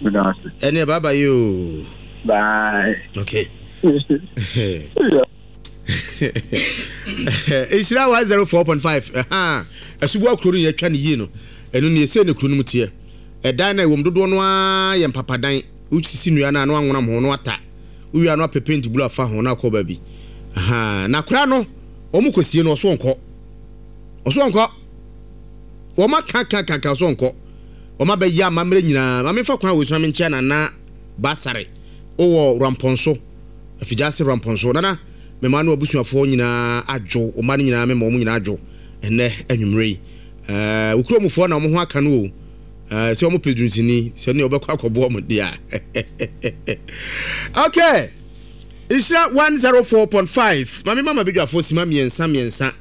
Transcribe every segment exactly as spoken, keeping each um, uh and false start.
Ɛneɛ bye bye oo. Bye. Okay. Nhyira one zero four point five Asuboa kuro no yɛatwa no yie no ɛno nie sei na kuro no mu teɛ ɛdan no a ɛwɔ mu dodoɔ no ara yɛ mpapadan wosisi nnua no a na wanwonam ho na wata wowie a na wapɛ paint blue afa ho na akɔ baabi na akora no wɔn kɔsie no ɔso ɔnkɔ ɔso ɔnkɔ wɔn aka ka ka ka ɔso ɔnkɔ wɔn abɛyɛ amammerɛ nyinaa maame fa kwan wɔ so na menkyia nana basare wowɔ rampɔnso Afigya-ase Rampɔnso, Nana, me mma ne w'abusuafoɔ nyinaa adwo, wo mma no nyinaa mema wɔn nyinaa adwo ɛnnɛ anwummerɛ yi. Ɛɛ, wo kurom foɔ na wɔn ho aka no o. Ɛɛ, sɛ wɔn pɛ dunsini, sɛ ne wɔbɛkɔ akɔboa wɔn deɛ a. Okay. Nhyira one zero four point five. Maame mama badwafoɔ sima mmiɛnsa mmiɛnsa.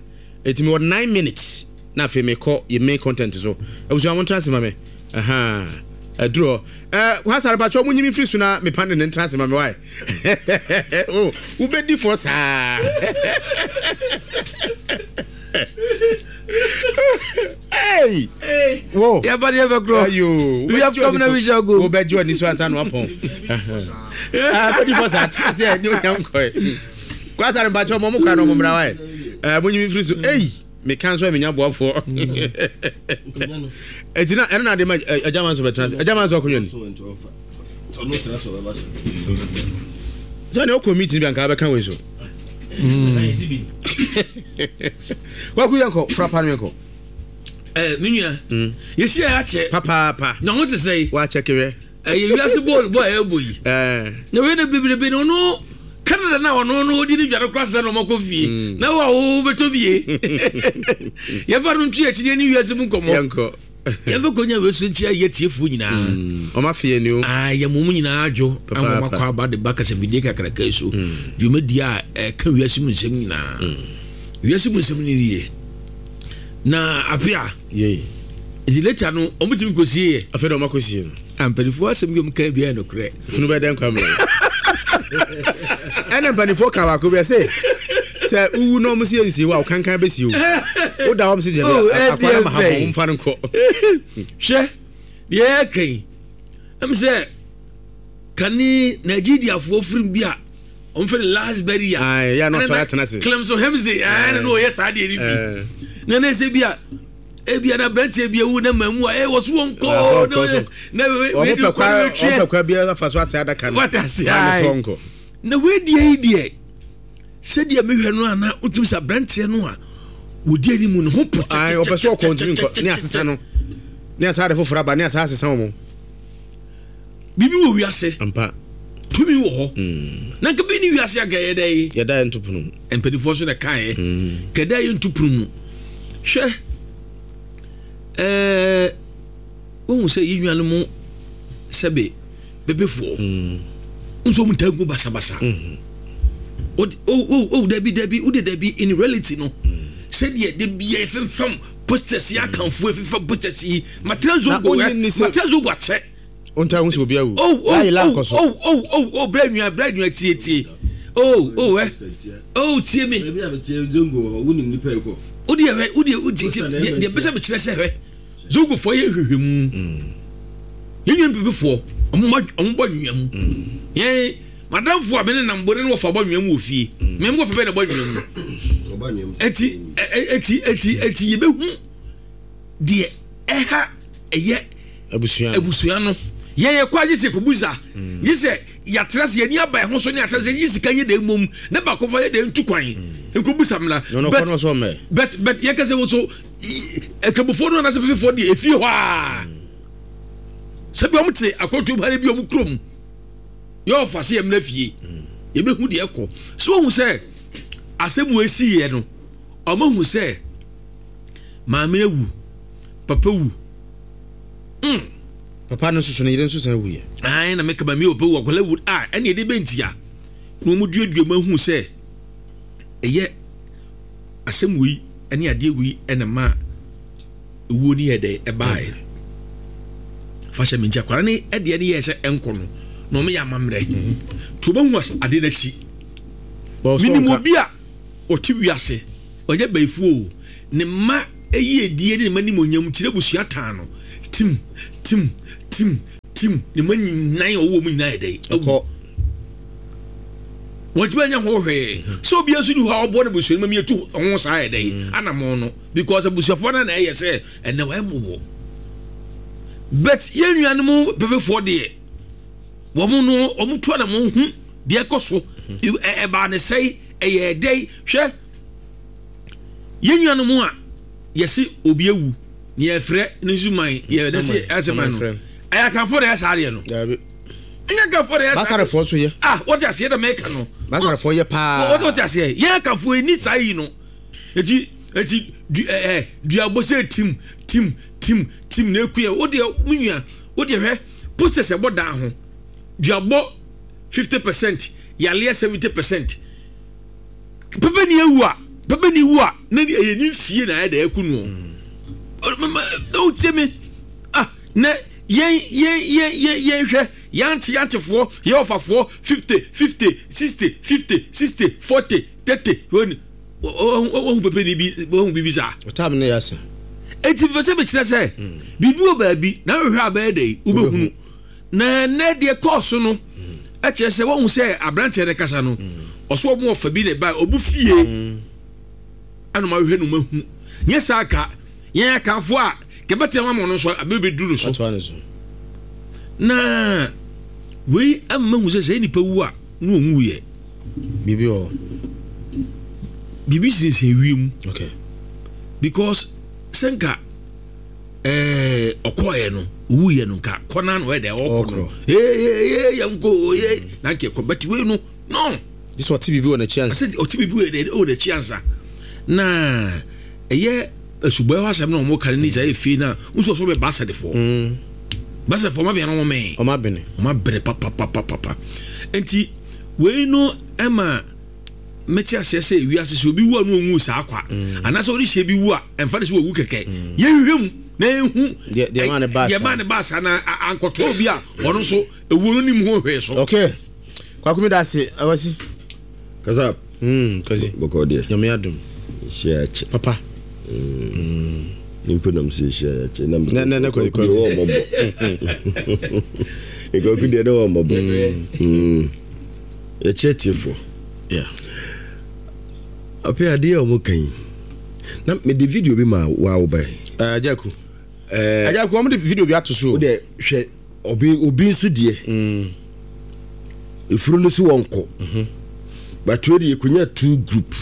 Eti mewɔ nine minutes na afei mekɔ yɛ main content so. Abusua mo ntra ase ma me. Ahaa. Aduru hɔ. Eh, Kwasare pakyɛ ɔmo nyi me firi so na me pane ne ntra ase ma me wae. Oh, wobɛdi fɔ saa. Hey! Hey! Wo. Yɛba ne yɛbɛkorɔ. Ayo. We have come na we shall go. Wobɛgye w'ani so ansa na wapɔn. Ah, bɛdi fɔ saa. Tra ase ɛ, ne onyam kɔe. Kwasare mpakyɛ ɔmo ɔmo kwan na ɔmo mmra wae. Eh, mo nyi me firi so. Ei! Meka nso a menya boafoɔ. Eti na ɛno na ade ma agya ma nso bɛtena ase. Agya ma nso akonnwa ni. Sɛ ne ɔkɔ meeting bi anka bɛka wei so. Kwaku yɛnkɔ frapa no yɛnkɔ. Eh, me nua. Yɛsi a yɛakyɛ. Papaapa. Na ho te sɛ. Wakyɛ kewɛ. Ɛyɛ wiase bɔɔl bɔ a ɛbɔ yi. Na wei na bebrebe no ɔno Canada na ɔno no ɔdi ne dwa no kora sɛ na ɔmakɔ fie mm. na wo a wobɛtɔ bie yɛmfa no nto akyi ne wiase mu nkɔmmɔ yɛmfa kɔnya wei so nkyia yɛ tiefoɔ nyinaa mm. ɔma feɛ ni o ah, yɛ mo mu nyinaa adwo ama ɔmakɔ aba de ba kasafidie kakraka yi so mm. dwumadie a ɛka wiase mu nsɛm nyinaa wiase mu nsɛm no nie na ape a nti later no ɔmo tumi kɔ sie yɛ. Afei na ɔmo akɔ sie no. Ah, mpanimfoɔ asɛm bi ɔmo kan bi ayɛ nokorɛ. Funu bɛ dɛn kwa mmerɛ. Ɛna mpanimfoɔ ka baako bi ɛsɛ sɛ uwu na ɔmo si nsie wo a ɔkankan bɛ sie o. O da ɔmo si gyɛ bi akwa na ma ha bɔ ɔmo fa no nkɔ. Hwɛ deɛ ɛyɛ kan ɛm sɛ kane Nigeriafoɔ firim bi a wɔn fɛ no last burial. Ayi ya na ɔsɔre atena ase. Clemson Hemsey ɛɛ na ɔyɛ saa deɛ no bi na na ɛsɛ bi a ebi na aberanteɛ bi awu na maamu a ɛwɔ so wɔn kɔɔ na na wei di kɔ na wetwiɛ wɔn pɛ kwa bi afa so ase adaka no wate ase ayi na wei deɛ yi deɛ sɛdeɛ mehwɛ no ana wotumi sɛ aberanteɛ no a wɔdi anim no ho po kyɛkyɛkyɛ ɔpɛ so ɔkɔ ntumi nkɔ ne asesa no ne asa ade foforɔ aba ne asa asesa wɔn. Biribi wɔ wiase. Ampa. Tumi wɔ hɔ. Mm. Na nka bi ne wiase anka yɛ dɛ yi. Yɛda yɛ nto pono mu. Mpanimfoɔ so na kaeɛ. Mm. Kɛda yɛ nto pono mu. Hwɛ ɛɛ wohu sɛ yɛ nuanom sɛbe bebefoɔ. Mm. Nso wɔn ntaa gu basabasa. Mm. O o o dabi dabi o de dabi in reality no. Mm. Sɛdeɛ de bia yɛfemfam posters yi akanfoɔ efefa posters yi matena zongo ɛ matena zongo akyɛ. O nta ho sɛ obi awu. Oh oh Láyé oh láǹkọ so. oh oh oh oh brɛ nua brɛ nua tie tie oh oh ɛ oh tie mi. Ebi a mi tie zongo wɔ hɔ wunim nipa ekɔ. O deɛ hwɛ o deɛ o tie tie deɛ deɛ bɛsɛ mi kyerɛ sɛ hwɛ zongo foɔ yɛ hwehwɛ mu yɛn nua mpepe foɔ ɔmo ma ɔmo bɔ nwia mu yɛn madamfo a me ne nam bɔ ne wɔfa bɔ nwia mu wɔ fie mɛ mo wɔfa bɛ na bɔ nwia mu eti eti eti eti yɛ bɛ hu deɛ ɛha ɛyɛ abusua abusua no yɛn yɛ kɔ agye sɛ kɔbusa mm. gye sɛ yɛatra sɛ yɛni aba ɛho so ne atra sɛ yɛ sika nyɛ dɛ mmom ne baako fa yɛ dɛ ntu kwan mm. nkɔbusa mmra but but yɛka sɛ wo so akramofoɔ no anaasɛ pepefoɔ deɛ ɛfie hɔ a mm. sɛ bi ɔmo te akɔntom ha ne bi ɔmo kurom yɛ ɔfa sɛ yɛmmra fie yɛbɛhu deɛ ɛkɔ sɛ wɔhu sɛ asɛm wɔ ɛsiiɛ no ɔmo hu sɛ maame awu papa wu mm. Papa no nso so ne yere nso san wuyɛ. Ae na meka maame papa wu akwadaa wu a ɛne ɛde bɛntia na wɔn duadua mu ahu sɛ ɛyɛ asɛm wei ɛne adeɛ wei ɛna ma ewuo no yɛ dɛ ɛbaeɛ fa hyɛ me nti akwadaa no ɛdeɛ no yɛ sɛ ɛnkɔ no na wɔn yɛ amammerɛ nti wɔbɛhu adeɛ no akyi menim obi a ɔte wiase ɔnyɛ bayifoɔ o ne mma yiedie ne ne mma nimonyam nti n'abusua taa no tim tim tim Tim ne ma nyinan ɔwɔ mu nyinaa yɛ dɛ ɛkɔ wɔntumi anya ho hwee sɛ obi nso ni hɔ a ɔbɔ ne busua no ma mietu ho saa yɛ dɛ anamɔ no because abusuafoɔ no na ɛyɛ sɛ ɛnɛ wɔyɛ mmɔbɔ but yɛn nuanom pɛpɛfoɔ deɛ wɔn no wɔn tu anamɔ hu deɛ ɛkɔ so ɛbaa ne sɛe ɛyɛ dɛ hwɛ yɛn nuanom a yɛsi obi ewu ne yɛfrɛ ne nsuman yɛ ne se ɛsɛ man no ɛyɛ akanfoɔ na ɛyɛ saa adeɛ no ɛnyɛ akanfoɔ na ɛyɛ saa basarefoɔ nso yɛ ah wɔte aseɛ na mɛka no basarefoɔ yɛ paa wɔte aseɛ yɛn akanfoɔ yi ni saa yi no eti eti du ɛɛ duabɔ sɛ tim tim tim tim na eku yɛ o deɛ mu nua o deɛ hwɛ posters ɛbɔ dan ho duabɔ fifty percent yaleɛ seventy percent pɛpɛ ni ewu a pɛpɛ ni wu a na ɛyɛ ni fie na ayɛ dɛ ɛku no o tie mi ah na yɛn yɛn yɛn yɛn yɛn hwɛ yante yantefoɔ yɛn ɔfafoɔ fifty fifty sixty fifty sixty forty thirty wɔn wɔn pɛpɛ ni bi wɔn bibi saa. Ɔtaab ne yɛ ase. Eti pɛ sɛ mekyerɛ sɛ biribi wɔ baabi na ahwehwɛ abɛyɛ dɛ wobɛhunu na nɛ deɛ kɔɔso no ɛkyerɛ sɛ wɔn sɛ aberanteɛ no kasa no ɔso wɔn ɔfa bi na ɛba ɔbu fie ɛna ɔmo ahwehwɛ no ɔmo ahu nyɛ saa ka yɛn akanfoɔ a kɛbɛtɛ wɔn ama ɔno nso abɛbɛduru no so na wei ama hu sɛ sɛ nipa wu a na wɔn wu yɛ biribi wɔ biribi sinsin wiem. Okay. Because sɛ nka ɛɛ ɔkɔɔyɛ no owu yɛ no nka kɔna na ɔyɛ dɛ ɔkɔ no ee ee yɛn ko ee na nka ɛkɔ bɛti wei no no. Sɛ ɔte biribi wɔ n'akyi ansa. Sɛ ɔte biribi wɔ wɔ n'akyi ansa na ɛyɛ asubɔ ɛhɔ asɛm na wɔn ka ne sɛ ɛyɛ fie na nso ɔsɔ bɛ baasɛdefoɔ baasɛdefoɔ ɔmo abɛn na wɔn mɛn. Ɔmo abɛn. Ɔmo abɛn papapapapa nti wei no ɛma mɛte aseɛ sɛ wiase sɛ obi wu a no ɔnwu saa kwa anaasɛ ɔde hyɛ bi wu a ɛmfa ne sɛ wɔwu kɛkɛ yɛhwehwɛ mu na yɛhu deɛ ma ne baa saa na ankɔtɔ obi a ɔno nso ɛwuo no nim ho hwee so. Okay. Kwakumi da ase awasi. Kasa. Mm, kasi. Bɔkɔ deɛ. Nyame adom. Hyia akyi. Papa. Mm. Nimpo nam sɛ hyia akyi. Na na na na kɔ kɔ. Wɔ mɔbɔ. Ekɔku deɛ ne wɔ mɔbɔ. Mm. Yɛkyɛ tiefo. Yeah. Ape adeɛ a wɔn kan yi. Na me de video bi ma wa wo bɛn. Eh, Jaku. Eh, Jaku wɔn de video bi ato so. Wo de hwɛ obi obi nso deɛ. Mm. Efuru no so wɔn kɔ. But we de yɛkɔnya two group.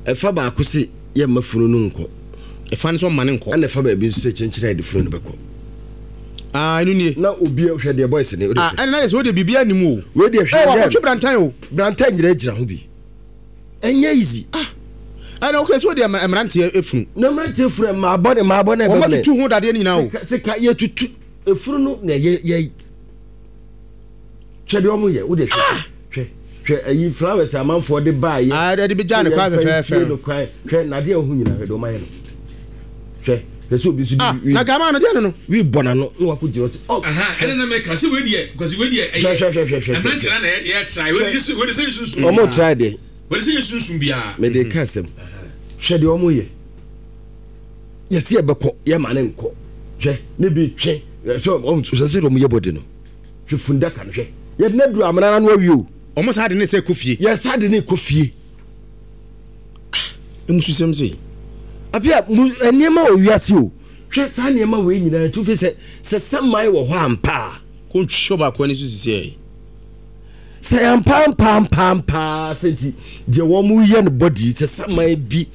Ɛfa baako se yɛ mma funu no nkɔ. Ɛfa no so mma ne nkɔ. Ɛna ɛfa baabi nso sɛ kyɛnkyɛn a yɛde funu no bɛkɔ. Ah, ɛno nie. Na obi hwɛ deɛ boys ne. Ah, ɛna na yɛ sɛ wode biribi anim o. Wei deɛ hwɛ. Ɛ wakɔtwe brantan o. Brantan nyina gyina ho bi. Ɛnyɛ easy. Ah. Ɛna okay so deɛ mmeranteɛ efunu. Na mmeranteɛ efunu mmaa bɔ ne mmaa bɔ ne. Wɔn atutu ho dadeɛ nyinaa o. Sika yɛtutu efunu no na yɛ yɛ twɛ deɛ ɔmo yɛ wo de hwɛ hwɛ hwɛ ayi flowers amanfoɔ de baa yɛ. Ah, ɛde bi gya ne kwan fɛfɛɛfɛ no. Hwɛ nadeɛ ɔho nyinaa hwɛ deɛ ɔmo ayɛ no. Hwɛ hwɛ sɛ obi nso di wi. Na gama no deɛ no no. Wi bɔ n'ano na wakɔ gyina ɔte. Ɔ ɛna na mɛka sɛ wei deɛ kwasi wei deɛ ɛyɛ ɛmɛnkyɛn na yɛ try wei deɛ wei deɛ sɛ yɛ sunsun. Ɔmo try deɛ. Wei deɛ sɛ yɛ sunsun biara. Mɛ de ka asɛm hwɛ deɛ ɔmo yɛ yɛsi yɛ bɛkɔ yɛ ma ne nkɔ hwɛ ne bi twe sɛ ɔmo sɛ sɛ ɔmo yɛ bɔdi no hwɛ fundaka no hwɛ yɛde ne duru amena no awie o. Ɔmo saa de ne sɛ kɔ fie. Yɛ saa de ne kɔ fie. Emu susɛm sɛ. Apia mu nneɛma wɔ wiase o hwɛ saa nneɛma wɔ nyinaa tu fi sɛ sɛ sɛman wɔ hɔ ampa. Ko ntwi ɔbaako ani so sisi yɛ. Sɛ ampa ampa ampa ampa sɛ nti deɛ wɔn mu yɛ no bɔdi sɛ saman bi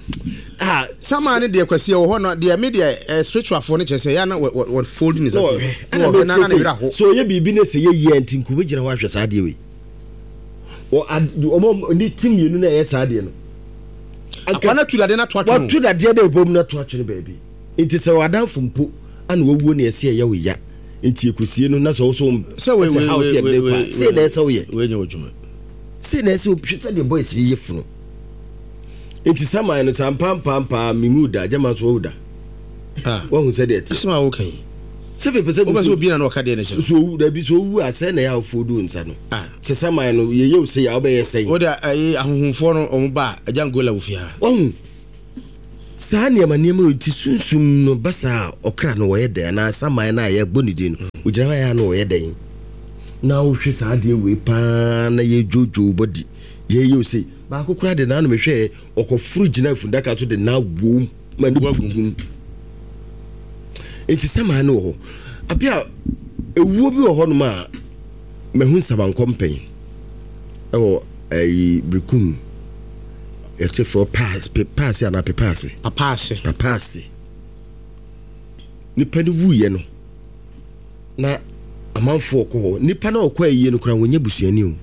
a. Saman ne deɛ kwasi wɔ hɔ no deɛ mi deɛ spiritual fo ne kyerɛ sɛ yɛ na wɔ wɔ fold ne sase. Ɛna mi kyerɛ sɛ so ɔyɛ biribi ne sɛ yɛ yie nti nko bɛ gyina hɔ ahwɛ saa adeɛ wei. Wɔ ad wɔn ne ti mmienu na ɛyɛ saa adeɛ no. Akwa na tu dadeɛ na to atwene. Watu dadeɛ na ebom na to atwene baabi. Nti sɛ wadanfo mpo ana wawuo na ɛsɛ ɛyɛ wo ya. Nti ekosie no na sɛ ɔso sɛ wei wei wei wei wei sɛ na ɛsɛ woyɛ wei nyɛ w'adwuma sɛ na ɛsɛ hwɛ sɛ deɛ boys yi yɛ funu nti saman no saa mpampampaa menwu da gyama nso wawu da wahu sɛ deɛ ɛte asɛm a woka yi sɛ pepɛ sɛ wobɛ sɛ obi na na ɔka deɛ no kyerɛ so owu dabi so owu a sɛ na ɛyɛ awofoɔ du nsa no sɛ saman no yɛyɛ wo sɛ yɛ wobɛyɛ sɛn wode ɛyi ahohomfoɔ no ɔmo ba agya ngola wo fie ha wahu Saa nneɛma nneɛma wei nti sunsum no ba saa a, ɔkra no wɔyɛ dɛn anaa saman no a yɛbɔ ne din no, ogyina hɔ a ɛyɛ a na ɔyɛ dɛn? Na wohwɛ saa adeɛ wei paa na yɛdwoodwoo body, yɛyɛ o sei. Baako koraa de n'ano mehwɛɛ, ɔkɔforo gyina fundaka so de na wom ma ne bu. Nti saman no wɔ hɔ. Abia ewuo bi wɔ hɔnom a mahu nsabankɔ mpɛn ɛwɔ ɛyi Berekum. Yɛte frɛ paase paase anaa pepaase. Papaase. Papaase. Nipa no wuiɛ no na amanfoɔ kɔ hɔ. Nipa no a ɔkɔ ayie no koraa wɔnyɛ busuani o.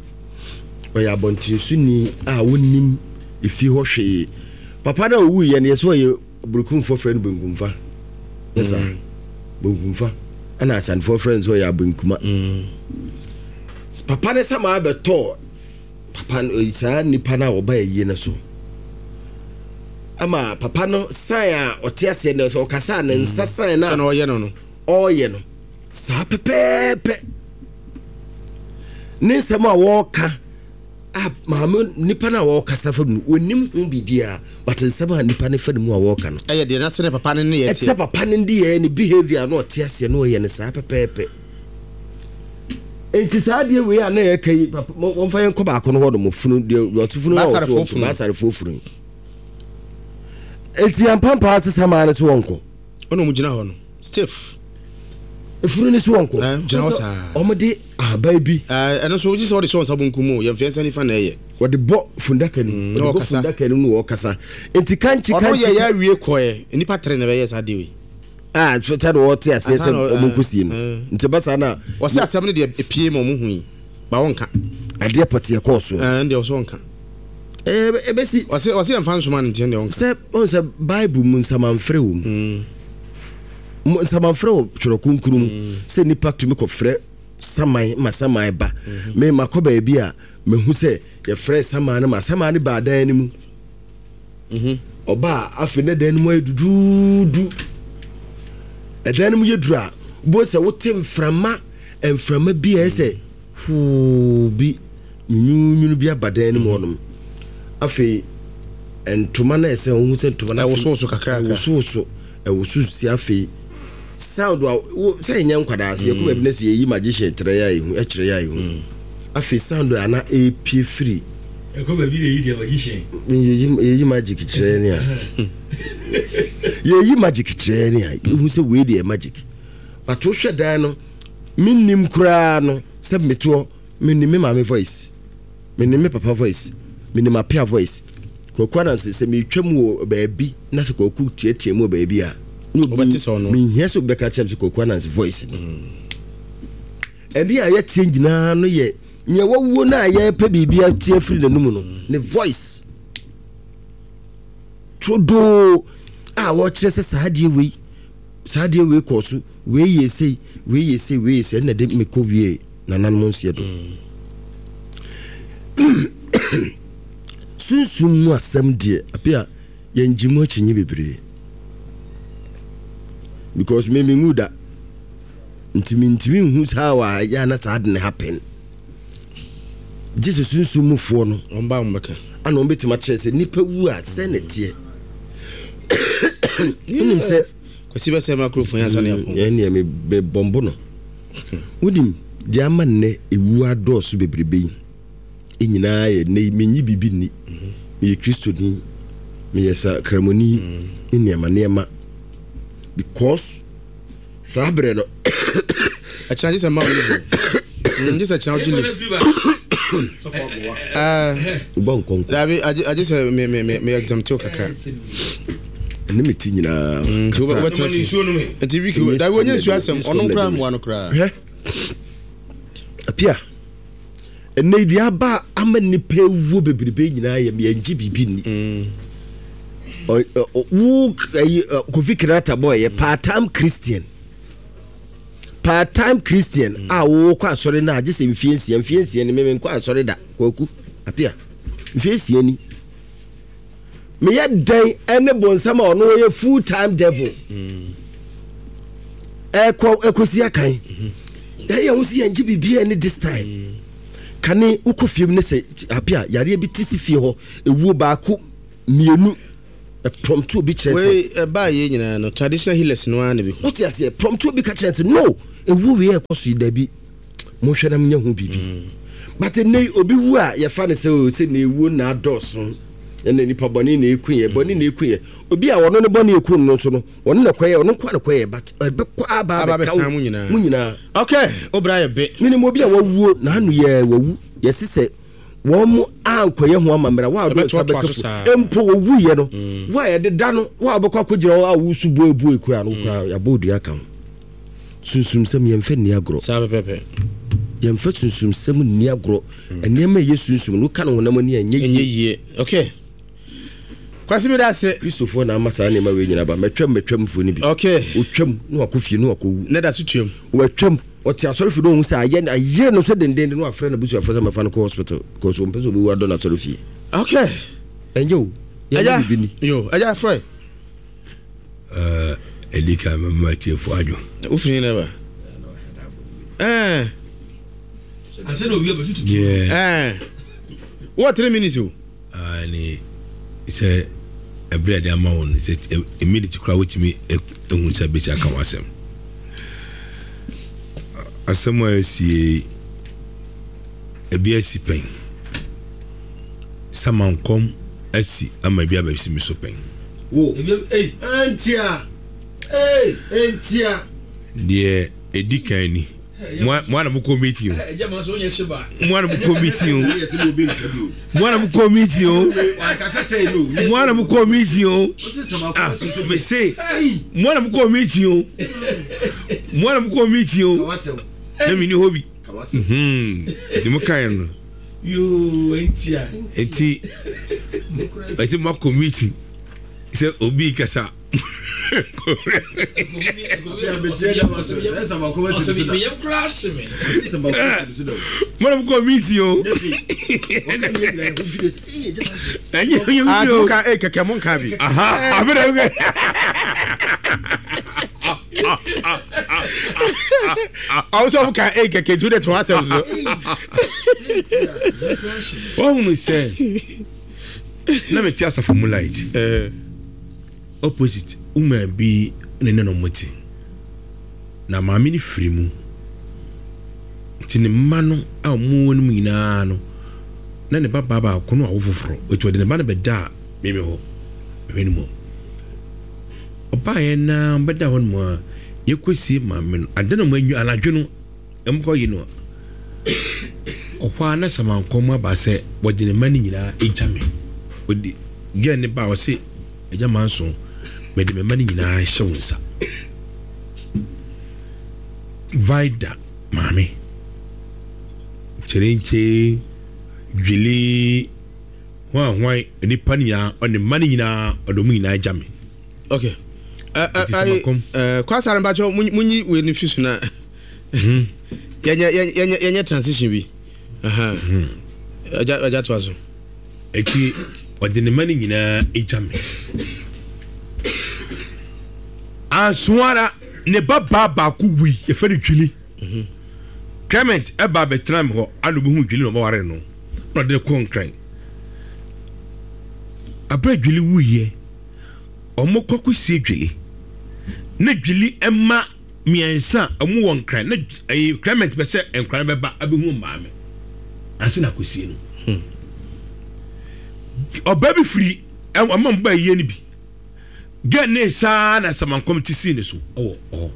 Ɔyɛ abɔntensoni a wɔnnim efie hɔ hwee. Papa no a ɔwuiɛ no yɛ sɛ ɔyɛ Berekumfoɔ frɛ no Benkumfa. Nyɛ saa? Mm. Benkumfa. Ɛna Asantefoɔ frɛ no sɛ ɔyɛ Abenkuma. Mm. Papa no sɛ maa bɛtɔɔ papa no saa nipa no a ɔba ayie no so ama papa no san a ɔte aseɛ no sɛ ɔkasa a ne nsa mm. san no a ɔyɛ no no ɔreyɛ no saa pɛpɛɛpɛ ne nsɛm a wɔreka a maame nipa no a wɔrekasa fa mu wɔnim ho biribiara but nsɛm a nipa no fa ne mu a wɔreka no ɛyɛ deɛ na sɛ ne papa no ne yɛ teɛ ɛte papa no de yɛ ne behavior na ɔte aseɛ na ɔyɛ no saa pɛpɛɛpɛ. Enti saa adeɛ wei a na yɛka yi, papa, wɔmfa yɛn kɔ baako no hɔ nom, funu, deɛ wɔto funu na wɔto wɔn baasarefoɔ funu yi. Enti yɛn pampaa sesa maa no so wɔnkɔ. Ɔna wɔn gyina hɔ no, stiff. Efunu no so wɔnkɔ. Ɛɛ gyina hɔ saa. Wɔn de ahaban bi. Ɛɛ ɛno nso wogye sɛ wɔde hyɛ wɔn nsa bonkum mu, yɛn fɛn nsa nifa na ɛyɛ. Wɔde bɔ fundaka no mu. Wɔde bɔ fundaka no mu na wɔkasa. Enti kankye kankye. Ɔno yɛ yɛ awie kɔɛ, nnipa tere na ɛbɛyɛ saa deɛ wei. A sɛ na wɔte aseɛ sɛ wɔn nkɔsie no nti ɛba saa na. Wɔsɛ asɛm no deɛ epie ma wɔn hu yi ba wɔnka. Adeɛ pɔteɛ kɔɔ so. Ɛn deɛ ɔsɛ ɔnka. Ɛɛ ɛbɛsi. Ɔsɛ ɔsɛ yɛn fa nsoma no nti ɛn deɛ ɔnka. Sɛ ɔn sɛ Bible mu nsamanfrɛ wɔ mu. Nsamanfrɛ wɔ Twerɛ Kronkron mu sɛ nipa tumi kɔfrɛ saman ma saman ba. Me makɔ baabi a mahu sɛ yɛfrɛ saman no ma saman no baa dan no mu. Mhm. Ɔba a, afei na dan no mu ayɛ duduudu. Ɛdan no mu yɛ duru a, wobɛhu sɛ wote mframa, mframa bi a ɛyɛ sɛ hoo bi, nwunwunu bi aba dan no mu hɔnom. Afei ntoma no a ɛsɛ wohu sɛ ntoma no afei ɛwosowoso kakra ɛwosowoso, ɛwoso si afei sound a wo sɛ yɛnyɛ nkwadaa sɛ yɛkɔ baabi na sɛ yɛyi magician kyerɛ yɛ a yɛhu ɛkyerɛ yɛ a yɛhu afei sound a na ɛrepie firi ɛkɔ baabi na yɛyi deɛ magician yɛyi yɛyi magic kyerɛ ne a yɛyi magic kyerɛ ne a yɛhu sɛ wei deɛ magic but wohwɛ dan no mennim koraa no sɛ metoɔ menim me maame voice menim me papa voice menim apea voice Kwaku Ananse, sɛ meretwam wɔ baabi na sɛ Kwaku teatea mu wɔ baabi a, na obi Wobɛte sɛ ɔno. Menhia sɛ obi bɛka akyerɛ me sɛ Kwaku Ananse voice ni. Ɛnne a yɛteɛ nyinaa no yɛ nea wawuo no a yɛrepɛ biribi ate afiri n'anum no, ne voice. Turodoo a wɔkyerɛ sɛ saa adeɛ wei, saa adeɛ wei kɔɔ so, wei yɛ sei, wei yɛ sei, wei yɛ sei, ɛnna de mekɔ wie nananom nseɛ do. Sunsum mu asɛm deɛ ape a yɛngye mu akyinnye bebree because me menwu da nti mentumi nhu saa wɔ a yɛ na saa de ne happen gye sɛ sunsum mufoɔ no wɔn ba wɔn bɛka ana wɔn bɛtumi akyerɛ sɛ nipa wu a sɛ na teɛ wonim sɛ kwasi bɛsɛ microphone yɛn ansa na yɛapɔn yɛn deɛ mebɔmbo no wonim deɛ ama nnɛ ɛwu adɔɔso bebrebe yi nyinaa yɛ nnɛ yi menyi biribi nni meyɛ kristoni meyɛ sakramoni ne nneɛma nneɛma because saa berɛ no ɛkyena gye sɛ ma wo leave gye sɛ kyena wogye leave wobɔ nkɔnkɔ dabi agye sɛ me me me me exam tew kakra ɛne me ti nyinaa nti wobɛtena fi nti wiki dabi wɔnyɛ nsuo asɛm ɔno koraa mmoa no koraa hwɛ apia ɛnɛ yi deɛ aba ama nnipa awuo bebrebe nyinaa yɛ yɛngye biribi nni wo Kofi Kinata boy yɛ part time Christian part time Christian a wokɔ asɔre no a gye sɛ mfie nsia mfie nsia ni meme nkɔ asɔre da kwaku apia mfie nsia ni meyɛ dɛn ɛne bonsam a ɔno ɔyɛ full time devil ɛkɔ ɛkɔsi akan ɛyɛ ho si yɛngye biribiara ne this time kane wokɔ fie mu ne sɛ apia yareɛ bi te si fie hɔ ewuo baako mmienu Ɛprɔmto obi kyerɛ sɛ Wei ɛbaa yɛ nyinaa no, traditional healers no ara na bi hu. Wote aseɛ? Prɔmto obi ka kyerɛ sɛ no, ɛwu wei a ɛkɔ so yi, dabi, monhwɛ na monyɛ ho biribi. But ɛnnɛ yi obi wu a, yɛfa no sɛ o, sɛ na ɛwuo na adɔɔso, ɛna nipa bɔne na ɛku yɛ, bɔne na ɛku yɛ. Obi a ɔno ne bɔne ɛku no nso no, ɔno na kɔyɛ, ɔno nko na kɔyɛ, but ɛbɛkɔ aba aba abɛka abɛsan wo mu nyinaa. Mu nyinaa. Okay, obra yɛ be. Menim obi a wawuo na ano yɛ wawu, yɛse sɛ wɔn mo ankɔyɛ ho amammerɛ, wa a wɔde nsa Ɛbɛtoatoa bɛka so fu saa. Mpo wɔwuiɛ no, wo a yɛde da no, wo a wobɛkɔ akɔgyina hɔ a wosu buebue kura no kura, yɛabɔ odua ka ho. Sunsumsɛm, yɛmfa nni agorɔ. Saa pɛpɛpɛ. Yɛmfa sunsumsɛm nni agorɔ. Nneɛma a ɛyɛ sunsum no, woka no honam ani a, ɛnyɛ ɛnyɛ yie. Yie. Okay, Kwasi, mi da ase. Kristofoɔ na ama saa nneɛma wei nyina ba. Mɛtwam, mɛtwamfoɔ no bi Okay. ɔtwam na wakɔ fie na wakɔwu. Ne da so tuam. Watwam, ɔte asɔre fie na ɔhu sɛ ayɛ ayere no so dendenden na wafrɛ n'abusuafoɔ sɛ mɛfa no kɔ hospital because ɔmpɛ sɛ ɔbɛwu adɔ n'asɔre fie. Okay. Ɛnyɛ o, yɛma ɛgya biribi ni. Yo, ɛgya frɛ. Ɛdi kan, mɛma atiefoɔ adwo. Wofiri ne ba ɛɛ. Ansa na owia bɛtututu. Deɛ ɛɛ, wɔ three minutes o. Ah, ne sɛ ɛberɛ a yɛde ama wo no, sɛ ɛ- minute koraa wotumi ehu sɛ bɛsi aka wo asɛm. Asɛm a asie, ebi asi pɛn, samankɔm asi ama ebi abɛsi mi so pɛn. Wo Ebi ei. Ɛntia. Ei. Ɛntia. Deɛ ɛdi kan ni, mo a mo a na mokɔ meeting o. Ɛgya ma so wonyɛ hye ba. Mo a na mokɔ meeting o. Ɛne yɛsɛ ne obi nka bi o. Mo a na mokɔ meeting o. Wankasa sɛ no. Mo a na mokɔ meeting o. Wose sɛ ah makɔ sunsum. Mese mo a na mokɔ meeting o, mo a na mokɔ meeting o. Kawasɛm. Na menni hɔ bi. Kawasɛm. Mhm. Nti mokaeɛ no. Yoo, ɛntia. Nti ɛti moakɔ meeting sɛ obi kasa. Meyam koraa hye me. Mo na mokɔ meeting o, ɛnyɛ ɛnyɛ Ah, bi o. mo ka ee kɛkɛ, mo nka bi. Aha, abena bi. Ɔwɔ sɛ ɔmo ka ee kɛkɛ, tu de to asɛm so. Wɔhunu sɛ na mete asafo mu light ɛɛ opposite woman bi ne ne no mote na maame no firi mu, nti ne mma no a ɔmo wɔ no mu nyinaa no, na ne ba baa baako no awo foforɔ, nti ɔde ne ba no bɛda meme hɔ mehwɛ no mu. Ɔbaeɛ na ɔbɛda hɔ nom a yɛkɔsie maame no ade na ɔmo anwu anadwo no, ɛmkɔ yi no ɔhɔ a na samankɔm aba sɛ wɔde ne mma no nyinaa agya me. Ɔde gɛn ne ba a ɔse, "Agya manso, mede me mma no nyinaa hyɛ wo nsa." Vida maame kyerɛnkyɛn dwili hwan hwan, nipa no nyinaa, ɔne mma no nyinaa, ɔde ɔmo nyinaa agya me. Okay, ɛ ɛ Nti ayi samankɔm. Ɛɛ kwasare, mpatsɔ munyi wei ni fi so na yɛnyɛ yɛnyɛ yɛnyɛ transition bi. Ɛgya, ɛgya, to aso. Eti ɔde ne mma no nyinaa agya me. Anso ara ne ba baa baako wui, yɛfɛ no Dwili. Clement ɛba abɛtena me hɔ ana obi hu Dwili na ɔbɛware no na ɔde no kɔ Nkran. Abere Dwili wuyɛ, ɔmo kɔ kɔsie Dwili na Dwili ɛma mmiɛnsa a ɔmo wɔ Nkran na ɛyɛ Clement pɛ sɛ Nkran bɛba abɛhu maame ansa na akɔsie no. Ɔbaa bi firi ɔma mo ba yie no bi gɛ ne saa na samankɔm ti sii ne so ɛwɔ hɔ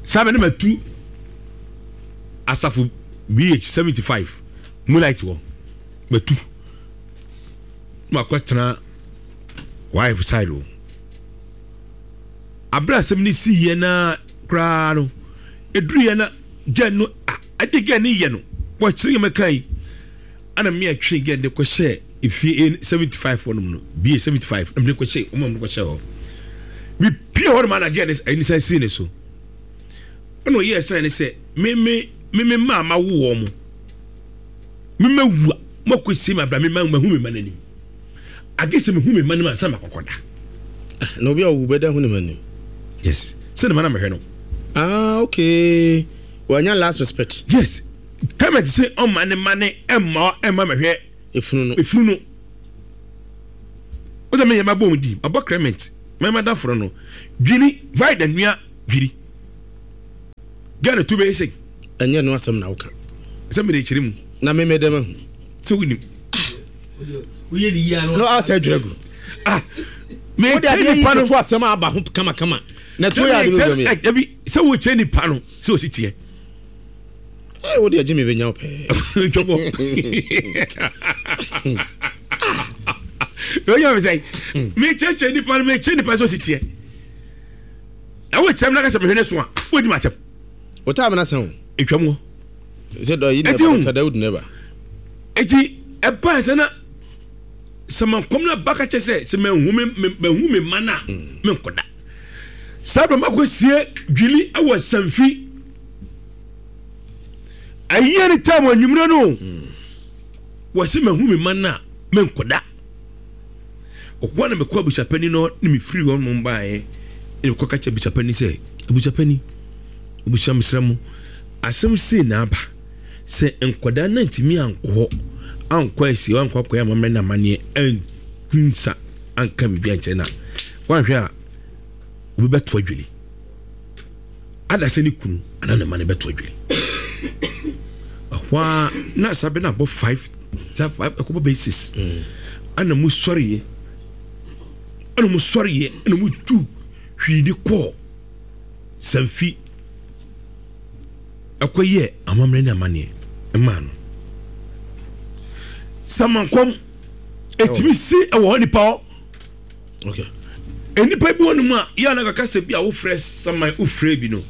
saa bɛ ne ma tu asafo B H seventy five moonlight hɔ, matu na makɔtena wife side o. Abere asɛm ne si yɛ na koraa no eduru yɛ na gɛ no a ade gɛ ne yɛ no wɔkyerɛ yɛ mɛka yi ana mmea twe gɛ ne kɔhyɛ efie A seventy five hɔ nom no, B seventy five ɛmu ne kɔhyɛ ɔmo ne kɔhyɛ hɔ. Mi pie hɔ nom ana gɛ ne ɛni san si ne so ɛna ɔyɛ ɛsan ne sɛ mímí mímí maa ma wo wɔn mo mímɛ wu a mo akɔ sie mi abira mi ma ma hu mi ma n'anim age sɛ mi hu mi ma n'anim ansa ma kɔkɔ da. Na obi a owu bɛda hu ne ma nim? Yes, sɛ ne ma na mɛhwɛ no. Ah, okay, wanya last respect. Yes, Clement sɛ ɔma ne ma ne ɛmma ɛmma mɛhwɛ efunu no. Efunu no. Wosɛ meyɛ mabɔ mu di mabɔ Clement mɛma da foro no dwiri vaida nua dwiri Ghana tu bɛyɛ sɛ ɛnyɛ no asɛm na woka. Sɛ mede kyerɛ mu. Na meme dɛm ahu. Sɛ wonim. Woyɛ ne yie ano. No asɛ adwira gu. Ah, wode mekyerɛ adeɛ yi nipa no toto asɛm a aba ho kamakama na tuo yɛ ade no wura mu yɛ. Ɛbi sɛ wokyerɛ nipa no sɛ ɔsi teɛ. Ɛ wode agye me bɛnya wo pɛɛ. Twɔbɔ na ɔyɛ me sɛ mekyerɛkyerɛ nipa no, mekyerɛ nipa sɛ ɔsi teɛ na wokyerɛ m na ka sɛ mehwɛ ne so a wodi ma kyɛm. Wotaa me no asɛm o. Ɛtwam hɔ. Sɛ dɔ yi Ɛti neba hu. Doctor Dawood neba. Eti ɛbaa sɛ na sɛ mankɔm no aba ka kyɛ sɛ sɛ mahu me me- mahu me ma no a menkɔda saa bɛ makɔsie dwili ɛwɔ Samfi ayie ne tam anwummerɛ no wɔse mahu me ma no a menkɔda ɔhɔ na mekɔ abusuapani no ne mefiri hɔ nom baeɛ ne mekɔka kyɛ abusuapani sɛ, abusuapani, abusua, mesrɛ mo, asɛm sei na aba sɛ nkwadaa no antumi ankɔ hɔ ankɔ asie ankɔ akɔyɛ amammerɛ no amanneɛ ankunsa anka biribi ankyerɛ no a woanhwɛ a obi bɛto adwiri ada sɛ ne kunu anaa ne ma no bɛto adwiri. Ɛhɔ a na saa bɛ no abɔ five saa five ɛkɔbɔ bɛyɛ six ana mu sɔreɛ ɛna mu sɔreɛ ɛna mu tu hwii de kɔɔ Samfi ɛkɔyɛ amammerɛ ne amanneɛ ɛmaa no samankɔm ɛtumi si ɛwɔ hɔ nipa hɔ. Okay. Nnipa bi wɔ no mu a yɛ ana kaka sɛ bi a wofrɛ saman wofrɛ bi no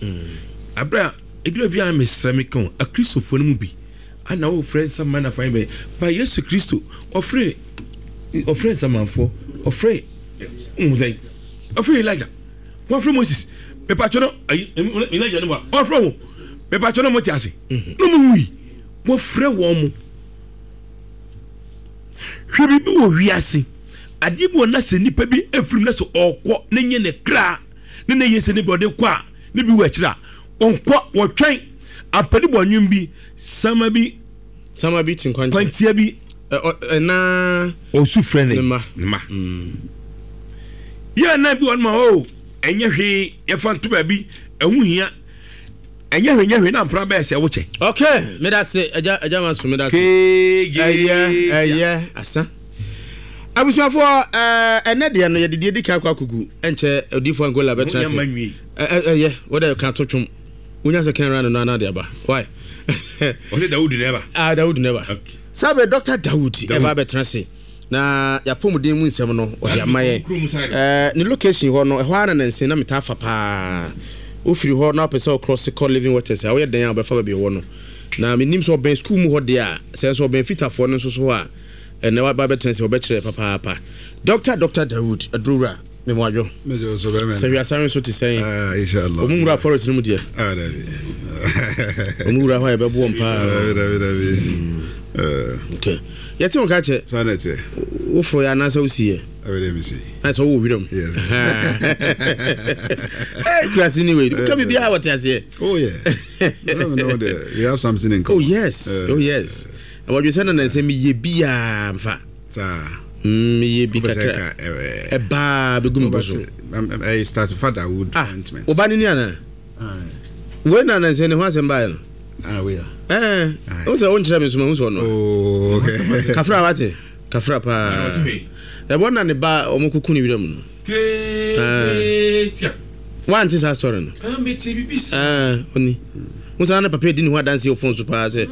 aberɛ a ɛdura bi a mesrɛ me ka o akristofoɔ no mu bi ana wofrɛ nsaman na fan bɛyɛ ba Yesu Kristo ɔfrɛ ɔfrɛ nsamanfoɔ, ɔfrɛ nhu sɛn, ɔfrɛ Elijah, wɔfrɛ Moses mepatwɛ no ayi Elijah no mu a ɔfrɛ wo mepatwɛ no mo te ase no mu wui wɔfrɛ wɔn mo. Hwɛ, biribi wɔ wiase adeɛ bi wɔ na sɛ nipa bi efirim na sɛ ɔkɔ ne nye ne kra ne ne yɛ sɛ ne bi ɔde kɔ a ne bi wɔ akyire a ɔnkɔ wɔtwɛn apɛni bɔ nwom bi sama bi. Sama bi ti nkwankyɛn. Kwantia bi. Ɛna ɔsu frɛ ne ne ma. Ne ma yɛ na bi wɔ no ma o ɛnyɛ hwee yɛfa nto baabi ɛho hia ɛnyɛ hwee nyɛ hwee na mpra bɛyɛ sɛ wokyɛ. Okay, meda se agya agya ma so meda se. Keegye. Ɛyɛ ɛyɛ asa. Abusuafoɔ, ɛɛ ɛnɛ deɛ no yɛde deɛ di kan akɔ akɔgu ɛnkyɛ odiifoɔ Angola bɛtena ase. Nyama nwie. Ɛ ɛyɛ wɔde ka to twom. Wonya sɛ kan ra no na de aba. Why? Ɔsɛ Dawud na ɛba. Ah, Dawood never. Okay. Sabe Doctor Dawood ɛba bɛtena ase na yɛapɔmuden mu nsɛm no ɔde ama yɛn. Kurom side. Ɛɛ ne location hɔ no ɛhɔ ara na nansi na metaa fa paa. Wofiri hɔ na wopɛ sɛ ɔcross kɔ Living Waters a woyɛ dan a wobɛfa baabi ɛwɔ no. Na menim sɛ ɔbɛn school mu hɔ deɛ a sɛ nso ɔbɛn fitafoɔ no nso so hɔ a ɛnɛ waba bɛtena sɛ wɔbɛkyerɛ papaapa. Doctor Doctor Dawood Adurowura memoadwo. Mejɔ so bɛmɛ. Sɛ hwiasare nso te sɛn? Ah, inshallah. Ɔmo nwura forest no mu deɛ. Ah, dabi. Ɔmo wura hɔ a yɛbɛboɔ mpaa. Dabi, dabi, dabi. Eh, Okay. Yɛte wo ka kyɛ. Saa na ɛteɛ. Woforo yɛ anaasɛ wosi yɛ? Ɛbɛ dɛ mesi. Na sɛ wowɔ wiram. Yes. Hey, kurase ni wei. Woka biribiara wɔte aseɛ. Oh, yeah. No, no, the, we have something in Oh common. yes. Eh, Oh yes. Na wɔdwe sɛ na nansɛ meyɛ biaa mfa. Saa. Mm, meyɛ bi Wopɛ sɛ kakra. ka, eh, Ɛbaa bɛgu me bɔ so. Wobɛte, eh, start father wood Ah, ointment. woba ne ni anaa? Aye. Wei na nansɛ ne ho asɛm baeɛ no. Ah, we are. Eh, Aye. wo sɛ wonkyerɛ me nso mahu sɛ ɔno. Oh, okay. Kafra wate? Kafra paa. Ɔte hwee. Ɛbɔ na ne ba ɔmo kuku ne wiram no. Keetia. Wante saa story no? Ah, mete bibi sa. Ah, oni. Wo sɛ na ne papa di ne ho adanse wɔ phone so paa sɛ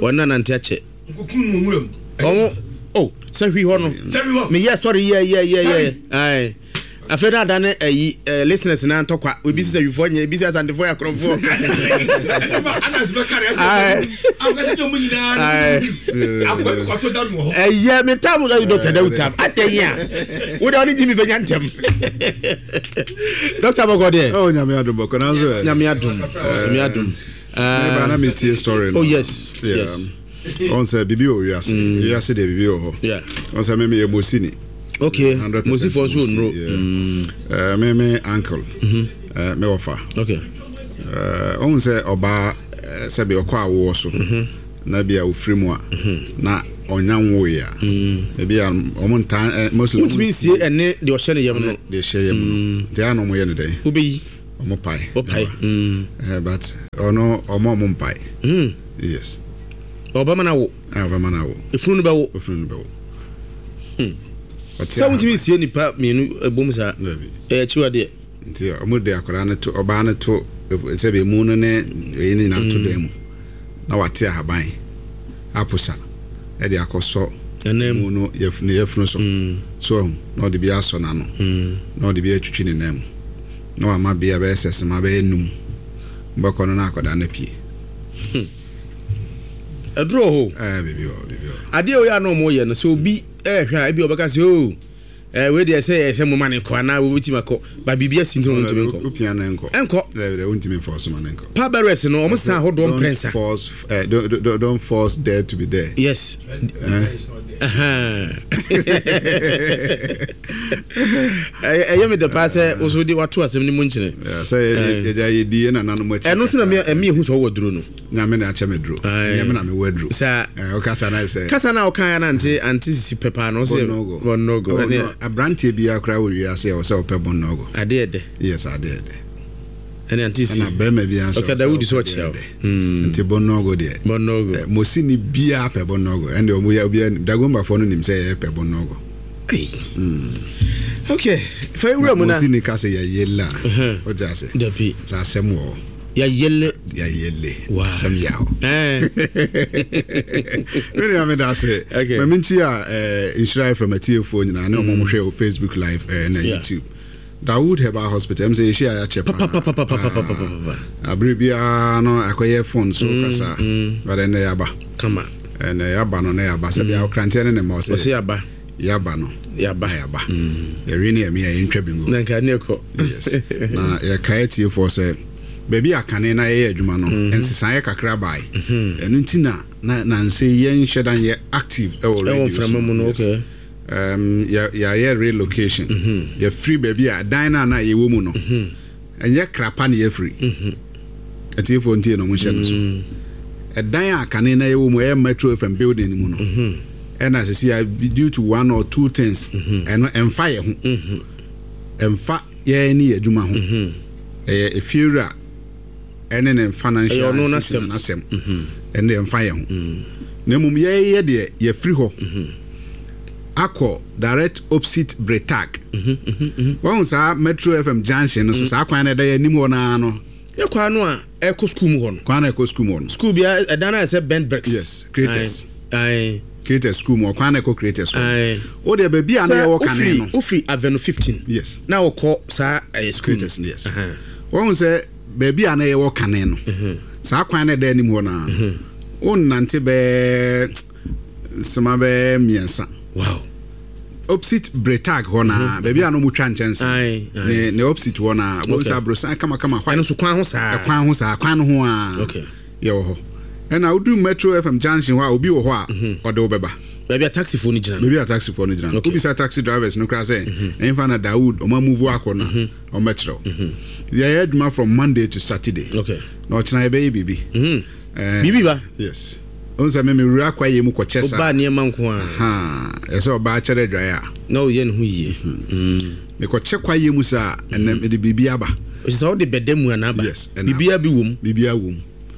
ɔne na nante akyɛ. Nkokun no nwura mu. Ɔmo oh, sɛ hwi hɔ no. Sɛ hwi hɔ. Meyɛ story yɛ yɛ yɛ yɛ. Aye. Afei na adane ayi eh, listeners na ntɔkwa. Obi sɛ hwifoɔ nyɛ, ebi sɛ asantefoɔ yɛ akorɔmfoɔ. Anas bɛka ne Aye. ɛsɛ. Akɔsɛ nyɛ ɔmo nyinaa. Aye. Akɔ bi kɔtɔ da mi wɔ hɔ. Ɛyɛ me tam ɛyɛ Doctor Dawood tam. Atɛ yi a. Wo de ɔne Jimmy bɛnya ntɛm. Doctor Bɔkɔ deɛ. Oh, Nyame adom bɔkɔ nanso ɛ. Nyame adom. Nyame adom. Meba na metie story no. Oh yes. Yeah. Yes. Ɔn sɛ biribi wɔ wiase. Wiase deɛ biribi wɔ hɔ. Yeah. Ɔn sɛ me meyɛ Mosini. Okay. one hundred percent Mosifoɔ nso Mosi, nnuro. yeah. Eh, me me uncle. Eh, me wɔfa. Okay. Eh, ɔhu sɛ ɔbaa eh, sɛbi ɔkɔ awoɔ so na bi a ofiri mu a na Ɔnya nwoeɛ a, ebi a ɔmo ntaa, mostly Wontumi nsie ɛne deɛ ɔhyɛ ne yam no. Deɛ ɛhyɛ yam no nti a na ɔmo yɛ no dɛn? Wobɛyi. Ɔmo pae. Wopae. Eh, but ɔno ɔmo ɔmo mpae. Mm. Yes. Ɔbɛma no awo. A ɔbɛma no awo. Efunu no bɛwo. Efunu no bɛwo. Ɔte Sɛ wontumi nsie nipa mmienu ɛbom saa. Dabi. Ɛyɛ akyiwadeɛ. Nti ɔmo de akwadaa no to, ɔbaa no to, sɛbi, emu no ne eyi no nyinaa to dan mu na wate ahaban aposa ɛde akɔsɔ Ɛnam. mu no yɛf ne yɛfunu so so ɔho na ɔde bi asɔ n'ano na ɔde bi atwitwi ne nan mu na wama bea bɛyɛ sɛ sema bɛyɛ num bɛkɔ no na akwadaa no pie. Ɛduro hɔ. Ɛɛ, biribi wɔ, biribi wɔ. Adeɛ a oyɛ a na ɔmo yɛ no sɛ obi ɛɛhwɛ a, ebi ɔbɛka sɛ, o ɛɛ wei deɛ sɛ ɛyɛ sɛ mo ma ne kɔ anaa wobɛtumi akɔ ba, biribi asi nti na ɔmo ntumi nkɔ. Wopia no nkɔ. Ɛnkɔ. Dɛbi dɛ, wontumi nfɔ so ma no nkɔ. Pallbearers no, ɔmo san ahodoɔ Don't mprɛnsa. force uh, don't, don't, don't force there to be there. Yes. Ɛhɛn. Ɛyɛ ɛyɛ mi dɛ paa sɛ woso de wato asɛm no mu nkyene. Yeah, sɛ yɛgya yɛdi yɛ nananom akyi. Ɛno nso na ɛmi ehu sɛ ɔwɔ duro no. Nyame na akyɛ me duro. Aye. Nyame na mewɔ aduro. Saa. Eh, wokasa na sɛ Kasa na ɔkan na ante ante sisi pɛ paa na ɔsɛ Bɔnnɔgo. Bɔnnɔgo. Oh, Ɛne no, aberanteɛ biara koraa wɔ wiase a ɛwɔ sɛ ɔpɛ bɔnnɔgo. Adeɛ dɛ. Yes, adeɛ dɛ. Ɛne ante si. Ɛna bɛrima biara nso Doctor ɛwɔ sɛ Dawudi sɛ ɔpɛ ɔkyea deɛ wo. dɛ. Mm. Nti bɔnnɔgo deɛ, Bɔnnɔgo. eh, mosini biara pɛ bɔnnɔgo. Ɛnde ɔmo yɛ obiara nim, Dagombafoɔ no nim sɛ yɛpɛ bɔnnɔgo. Ei. Okay, fa ewura mu na. Mosini ka sɛ yɛyɛle a, wote ase? Dabi. Sɛ asɛm wɔ hɔ. Yɛyɛle. Yɛyɛle. Wow. Asɛm yɛ hɔ. Ɛɛ. Mene ame da ase. Okay. Ma menti a eh, Nhyira F M atiefoɔ nyinaa ne ɔmo mo hwɛ wɔ Facebook Live eh, na Yeah. YouTube. Dawood Herbal Hospital, ɛm sɛ yɛhyia a yɛakyɛ paa. Papapapapapapapapa. Abere biara no akɔyɛ phone so kasa, but ɛnɛ yɛaba. Kama. Ɛnɛ yɛaba no na yɛaba sɛ bia ɔkranteɛ ne ne ma Ɔsɛ ɔsɛ yaba. Yɛaba no. Yaba. Na yɛaba, yɛwe ne yɛme a yɛntwa bingo. Na nka ne kɔ. Yes, na yɛkae atiefoɔ sɛ baabi a kane na yɛyɛ adwuma no, nsesaeɛ kakra bae. Ɛno nti na na nansɛ yɛnhyɛ da nyɛ active ɛwɔ Ɛwɔ radio mframa mu no. Yes. Okay. um, yɛ- yɛayɛ relocation. Yɛfiri baabi a dan no a na yɛwɔ mu no, ɛnyɛ krapa ne yɛfiri. Atiefoɔ ntie na ɔmo nhyɛ no so. Ɛdan a kane na yɛwɔ mu, ɛyɛ Metro F M building no mu no, ɛna sisi a due to one or two things, ɛno ɛmfa yɛ ho, ɛmfa yɛn ne yɛ adwuma ho, ɛyɛ efiewura ɛne ne financial Ɛyɛ ɔno institution n'asɛm. N'asɛm ɛne ɛmfa yɛn ho, na mmom yɛyɛ deɛ yɛfiri hɔ akɔ direct opposite Bretag. Wɔn saa Metro F M junction no so, saa kwan no ɛda yɛ anim hɔ naa no. Yɛ kwan no a ɛkɔ school mu hɔ no. Kwan no ɛkɔ school mu hɔ no. School bia ɛdan no ayɛ sɛ bent bricks. Yes, Creators. Aye. Creators school mu hɔ, kwan no ɛkɔ Creators hɔ. Aye. O deɛ, baabi a na yɛwɔ kane no. Wofiri Avenue fifteen. Yes. Na wokɔ saa ɛyɛ school. Creators, yes. Uh-huh. Wɔn sɛ baabi a na yɛwɔ kane no, saa kwan no ɛda anim hɔ naa no, wonnante bɛɛ nsema bɛɛ mmiɛnsa, Wow. opposite Bretag hɔ naa, baabi a na ɔmo twa nkyɛnse. Aye, aye. ne ne opposite hɔ naa, wɔn Okay. sɛ aborosan kamakama Ɛno nso kwan ho saa. Ɛkwan ho saa, kwan no ho a Okay. yɛwɔ hɔ. Ɛna wodu Metro F M junction hɔ a, obi wɔ hɔ a ɔde wo bɛba. Baabi a taxifoɔ no gyina no. Baabi a taxifoɔ no gyina no. Okay. Wobisa taxi drivers no koraa sɛ ɛmfa na Dawood ɔma move akɔ no a, ɔmmɛkyerɛ wo. Yɛyɛ adwuma from Monday to Saturday. Okay. Na ɔkyena yɛbɛyɛ biribi. Mhm. Eh, Biribi ba. Yes, ɔhu sɛ me mewura kwayɛ mu kɔkyɛ saa. Wobaa nneɛma nko a. Ha, ɛsɛ ɔbaa kyerɛ adwaeɛ a Na woyɛ ne ho yie. Mm. Mekɔkyɛ kwayɛ mu saa, ɛnɛ mede biribi aba. Ɔsɛ sɛ wode bɛda mu anaa ba. Yes, ɛna Biribiara bi wɔ mu. Biribiara wɔ mu.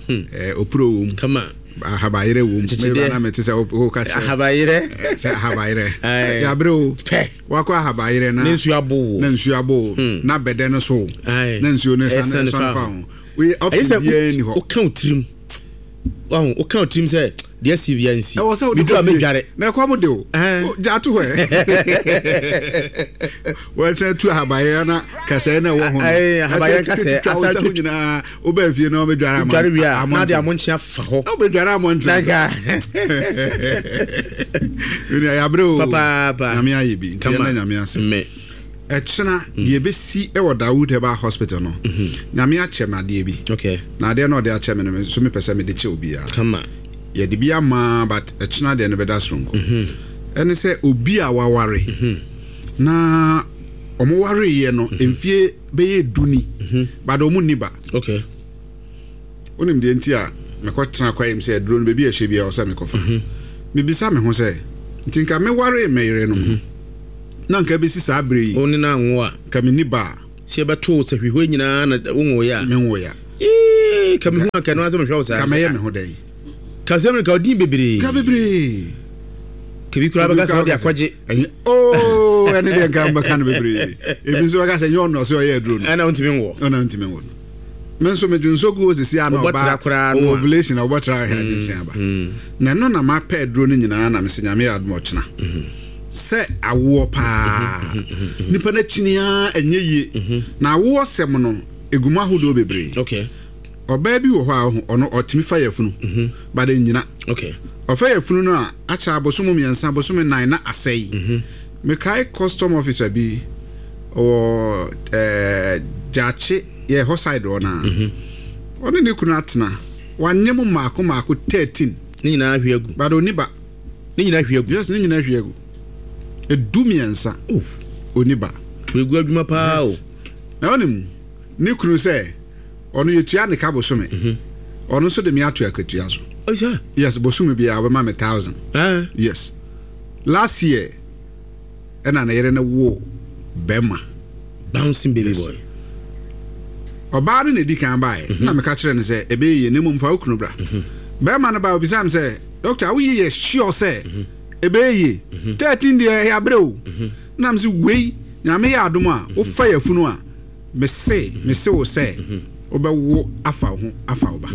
Eh, opuro wɔ mu. Kama. Ahabayerɛ wɔ mu. Kyekyedeɛ. Meba na mete sɛ wo- woka kyerɛ Ahabayerɛ. Sɛ ahabayerɛ. Aye. Yɛaberɛ o. Pɛ. Wakɔ ahabayerɛ na Ne nsuo abo wo. Na nsuo abo wo, na bɛdɛ no so wo, Aye. na nsuo no Ɛsane sane fa sane fa ho. ho. Wei Ɛyɛ option sɛ biara ni hɔ. woka wo tirim, wahu, woka wo tirim sɛ deɛ si bia nsi. Ɛwɔ sɛ wode Meduru a kɔ fie. mɛdware. Na ɛkɔm de o. Ɛn. O, gya to hɔ ɛ, wɔsɛ tu ahabayerɛ na kasɛɛ na ɛwɔ ho no. Aye, ahabayerɛ Ɛsɛ nkasɛɛ, twitwa wo asa nsa ho twitwa. nyinaa, wobaa fie na wobɛdware ama- Dware wie a, na de amɔnten. amonkyea fa hɔ. Wobɛdware amɔnten. Nanka. Nua, yɛabrɛ o. Papaapa. Nyame ayɛ bi nti Kama. yɛnda Nyame ase. Mmɛ. Ɛkyena deɛ ɛbɛsi ɛwɔ Dawood Herbal Hospital no, Nyame akyɛ me adeɛ bi. Okay. Na adeɛ no ɔde akyɛ me no, me nso mepɛ sɛ mede kyɛ obiara. Kama. Yɛde bi ama, but ɛkyena deɛ no bɛda soronko. Ɛne sɛ obi a waware na ɔmo wareyɛ no mfie bɛyɛ du ni, but ɔmo nni ba. Okay. Wonim deɛ nti a mekɔtena kwayɛ m sɛ aduro no baabi a ɛhyɛ biara ɔsɛ mekɔfa. Mebisa me ho sɛ, nti nka meware me yere no mm-hmm. na nka bɛsi saa berɛ yi, wo ne no anwo a, nka menni ba a, sɛ yɛbɛto wo sɛ hwehwɛ nyinaa na wonwoeɛ a, menwoeɛ a, ee, ka mehu anka no asɛ mehwɛ wo saa, nka mɛyɛ me ho dɛn? Ka sɛ me ka odin bebree. Ka bebree. Ka bi koraa bɛka sɛ ɔde akɔgye. Ɛnyɛ oo ɛne deɛ nka mbɛka no bebree. Ebi nso bɛka sɛ ɛnyɛ ɔno ɔsɛ ɔyɛ aduro no. Ɛna ɔntumi nwɔ. Ɛna ɔntumi nwɔ no. Me nso medwo nso gu osisi ano ɔba ovulation a ɔbɔtra ahwɛ adwensen aba. Na ɛno na mapɛ aduro no nyinaa na mesɛ Nyame yɛ adom ɔkyena. Sɛ awoɔ paa. Nipa no akyini ara ɛnyɛ yie. Na awoɔ sɛm no egu mu ahodoɔ bebree. Okay. Ɔbaa bi wɔ hɔ a ɔno ɔtumi fa yafunu mm-hmm. but ɛnnyina. Okay. Ɔfa yafunu no a akyɛ abosom mmiɛnsa abosom nnan na asɛe. Mm-hmm. Mekae custom officer bi ɔwɔ ɛɛ Gyaakye yɛ hɔ side hɔ naa. Mm-hmm. Ɔne ne kunu atena wanyɛ mu mmaako mmaako thirteen. Ne nyinaa ahwie agu. But ɔni ba. Ne nyinaa ahwie agu. Yes, ne nyinaa ahwie agu. Edu mmiɛnsa. Oh. Ɔni ba. Egu adwuma paa o. Na ɔnim ne kunu sɛ ɔno yɛtua ne ka bosome. Ɔno nso de me ato akatua so. Yes, bosome biara ɔbɛma me thousand. Uh. Yes. Last year ɛna ne yere no wo bɛrima. Bouncing baby yes. Boy. Ɔbaa no na edi kan baeɛ. Mm-hmm. Na meka kyerɛ no sɛ ɛbɛyɛ yie na mmom fa wo kunu bra. Mm-hmm. Bɛrima no baa obisa me sɛ doctor woyɛ yɛ sure sɛ ɛbɛyɛ yie. Thirteen deɛ ɛyɛ abrɛ o. Na me sɛ wei Nyame yɛ adom a wofa yafunu a mese mese wo sɛ wobɛwo afa wo ho afa wo ba.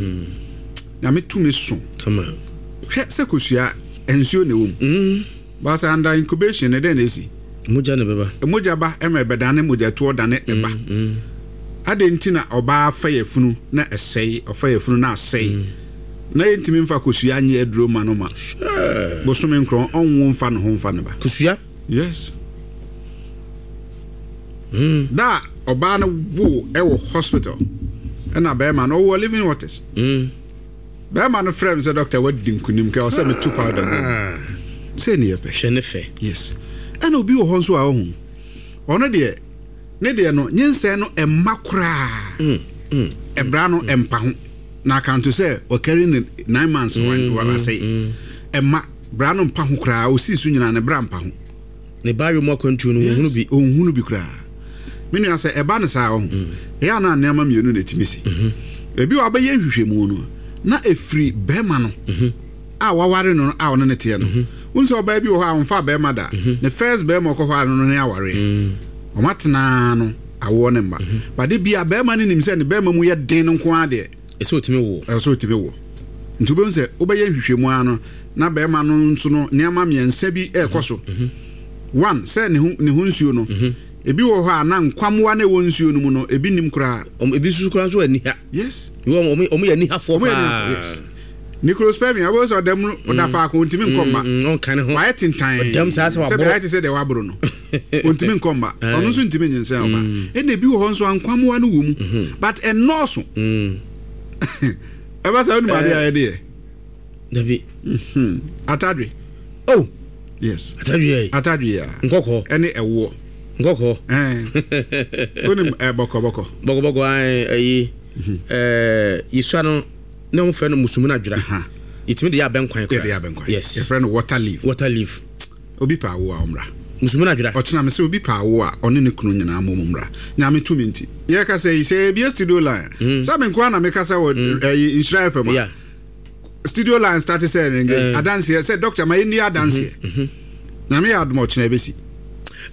Nyame tumi so. Hwɛ sɛ kosua nsuo na ɛwɔ mu. Baasa under incubation ne dɛn na ɛsi? Mogya na ɛbɛba. Mogya ba ɛma ɛbɛdane mogyatoɔ dane ɛba. Adɛn nti na ɔbaa fa yafunu na ɛsɛe, ɔfa yafunu na asɛe. Na yɛntumi mfa kosua nyɛ aduro ma no ma bosome nkorɔn ɔnwo mfa ne ho mfa ne ba. Kosua? Yes. Mm. Da ɔbaa no wo ɛwɔ hospital ɛna bɛrima no ɔwɔ Living Waters. Mm. Bɛrima no frɛ me sɛ doctor wadi nkunim kɛ ɔsɛ metu powder gu. Sɛ ne yɛpɛ. Hwɛ ne fɛ. Yes. Ɛna obi wɔ hɔ nso a ɔhu. Ɔno deɛ ne deɛ no nyinsɛn no ɛmma koraa. Mm. Mm. Ɛbra no ɛmpa ho. Na akanto sɛ ɔkari ne nine months wasɛe. Ɛmma bra no mpa ho koraa osii so nyinaa ne bra mpa ho. Ne ba yom akwantuo no wɔnhunu bi. Ɔnhunu bi koraa. Me nua sɛ ɛba no saa ɔho. Ɛyɛ a na nneɛma mmienu na ɛtumi si. Ebi wɔ abɛyɛ nhwehwɛmu no na ɛfiri bɛrima no a waware no a ɔne ne teɛ no. Wohu sɛ ɔbaa bi wɔ hɔ a ɔmfa bɛrima da. Ne first bɛrima ɔkɔfaa no no ne awareɛ. Ɔma tenaa no awoɔ ne mma. Bade bi a bɛrima no nim sɛ ne bɛrima mu yɛ den no nko ara deɛ. Ɛsɛ ɔtumi wo. Ɛsɛ ɔtumi wo. Nti wobɛhu sɛ wobɛyɛ nhwehwɛmu ara no na bɛrima no nso no nneɛma mmiɛnsa bi ɛrekɔ so. One, sɛ ne ho ne ho nsuo no, ebi wɔ hɔ a na nkwammoa na ɛwɔ nsuo no mu no ebi nim koraa. Ebi nso koraa nso ani ha. Yes. Wɔn wɔn yɛ anihafoɔ paa. Yes. Necrospermia wobɛhu sɛ ɔda mu ɔda faako ɔntumi nkɔ mma. Ɔnka ne ho. Wayɛ tentan. Ɔdam saa sɛ waboro. Sɛ ayɛ te sɛ deɛ waboro no. Ɔntumi nkɔ mma. Ɔno nso ntumi nyinsɛn ɔba. Ɛna ebi wɔ hɔ nso a nkwammoa no wɔ mu. But ɛnnɔɔso. Ɛba saa wonim adeɛ a yɛde yɛ. Dabi. Atadwe. Oh. Yes. Atadwe yɛ. Atadwe yɛ. Nkɔkɔ. Ɛne ɛwoɔ. Nkɔkɔ. Ɛɛ. Wonim ɛ bɔkɔbɔkɔ. Bɔkɔbɔkɔ ayi ɛɛ yisua no ne wɔn fɛ no musumuna adwira. Yɛtumi de yɛ abɛnkwan koraa. Yɛde yɛ abɛnkwan. Yes. Yɛfrɛ no water leaf. Water leaf. Obi pa awo a ɔmmra. Musumuna adwira. Ɔkyena me sɛ obi pa awo a ɔne ne kunu nyinaa mmɔ mu mmra. Nyame tumi nti. Yɛkasa yi sɛ yɛbie studio line. Sɛ me nkoa na mekasa wɔ ɛyi Nhyira F M a. Yeah. Studio line start sɛ ɛrenge adanseɛ sɛ doctor ma yɛnni adanseɛ. Nyame yɛ adom ɔkyena ɛbɛsi.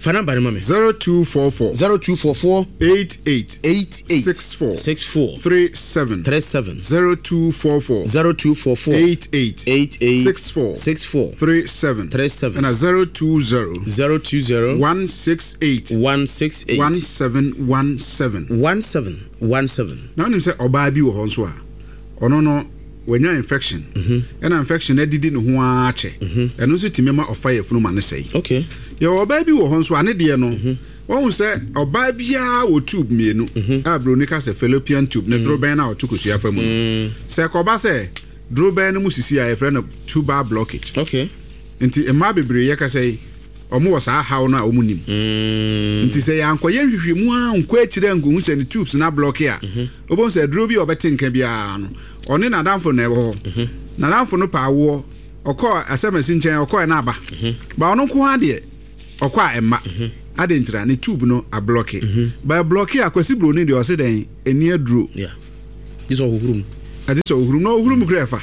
Fa number no ma me. zero two four four zero two four four eight eight eight eight six four six four three seven three seven zero two four four zero two four four eight eight eight eight six four six four three seven three seven and a zero two zero zero two zero one six eight one six eight one seven one seven one seven one seven. Na wonim sɛ ɔbaa bi wɔ hɔ nso a ɔno no wanya infection ɛna infection adidi ne ho ara kyɛ ɛno nso tumi ma ɔfa yafunu ma ne sɛe. Okay. Yɛwɔ ɔbaa bi wɔ hɔ nso a ne deɛ no wɔhu sɛ ɔbaa biara wɔ tube mmienu a buroni ka sɛ fallopian tube ne dorobɛn no a ɔto kosua fa mu no. Sɛ kɔba sɛ dorobɛn no mu sisi a yɛfrɛ no tubal blockage. Okay. Nti mmaa bebree yɛka sɛ ɔmo wɔ saa haw no a ɔmo nim. Nti sɛ yɛankɔyɛ nhwehwɛmu a nkɔ akyire ankohu sɛ ne tubes no ablɔke a wobɛhu sɛ aduro bi a ɔbɛte nka biara no ɔne n'adamfo na ɛwɔ hɔ. N'adamfo no pa awoɔ Ɔkɔ asɛmasi nkyɛn, ɔkɔɛ no aba ba, ɔno nko ara deɛ ɔkɔ a ɛmma ade ntira ne tube no ablock ba, block a Kwasi Buroni deɛ ɔse dɛn ɛni aduro. Yeah, gye sɛ ɔhohoro mu. Ade sɛ ɔhuru mu na ɔhuru mu kura ɛfa.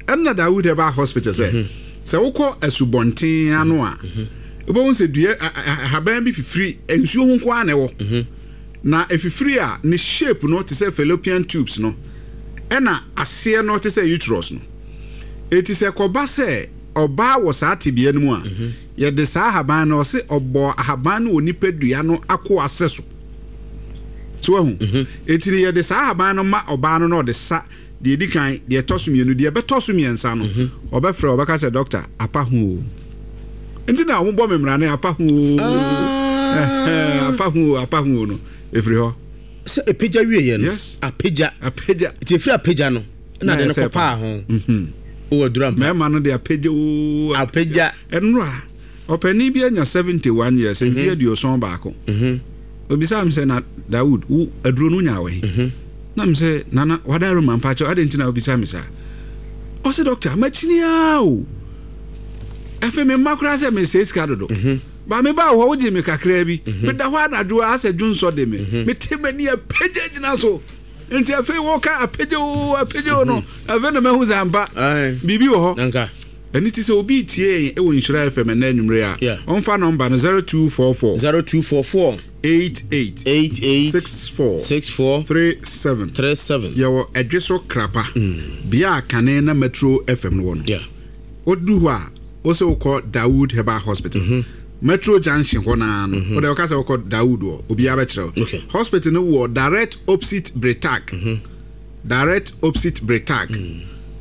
Ɛnna Dawood ɛba hospital sɛ sɛ wokɔ asubɔnten ano a, wobɛhu sɛ dua a- a- ahaban bi fifiri nsuo ho nko ara na ɛwɔ na ɛfifiri a ne shape no te sɛ fallopian tubes no, ɛna aseɛ no te sɛ uterus no. Eti sɛ kɔba sɛ ɔbaa wɔ saa tebea no mu a, yɛde saa ahaban no, ɔse ɔbɔ ahaban no wɔ nipadua no ako ase so so wahu. Eti no yɛde saa ahaban no ma ɔbaa no na ɔde sa deɛ edi kan, deɛ ɛtɔ so mmienu, deɛ ɛbɛtɔ so mmiɛnsa no, ɔbɛfrɛ, ɔbɛka sɛ, "Doctor, apa ho o." Nti na wɔn bɔ me mmara ne apa ho o. Ɛhɛn, apa ho o, apa ho o no efiri hɔ. Sɛ ɛpagya wieɛ no? Yes. Apagya. Apagya. Nti ɛfiri apagya no na de no Na ɛsɛ kɔpaa ho wowɔ aduru ampa. Mmarima no de apagya o. Apagya. Ɛnora ɔpanin bi anya seventy one years, mfe aduoson baako. Obisa mi sɛ, "Na Dawood, wo aduro no nya wɔ he?" Na mi sɛ, "Nana wadaro ma mpakyɛw, adi nti na obisa mi saa?" Ɔsɛ, "Doctor, makyini aa o, ɛfɛ mi mma koraa sɛ mesɛe sika dodo ba me ba wɔ hɔ, wogye me kakraa bi, meda hɔ anadwo a asɛ dwonsɔ de me, mete m'ani apagya gyina so. Nti afei wɔka apagya o, apagya o no, afei na mahu sɛ ampa Aye. biribi wɔ hɔ." Nanka. Ɛno ti sɛ obi tie yɛn ɛwɔ Nhyira F M ɛnɛ anwummere a, Yeah. ɔmfa nɔmba no zero two four four zero two four four eight eight eight eight six four six four three seven. three seven. Yɛwɔ Ɛdwe so Krapa, bea a kane na Metro F M no wɔ no. Yeah. Wodu hɔ a, wo sɛ wokɔ Dawood Herbal Hospital, Metro Junction hɔ naa no, wode wɔka sɛ wokɔ Dawood wɔ, obiara bɛkyerɛ wo. Okay. Hospital no wɔ direct opposite Bretag, direct opposite Bretag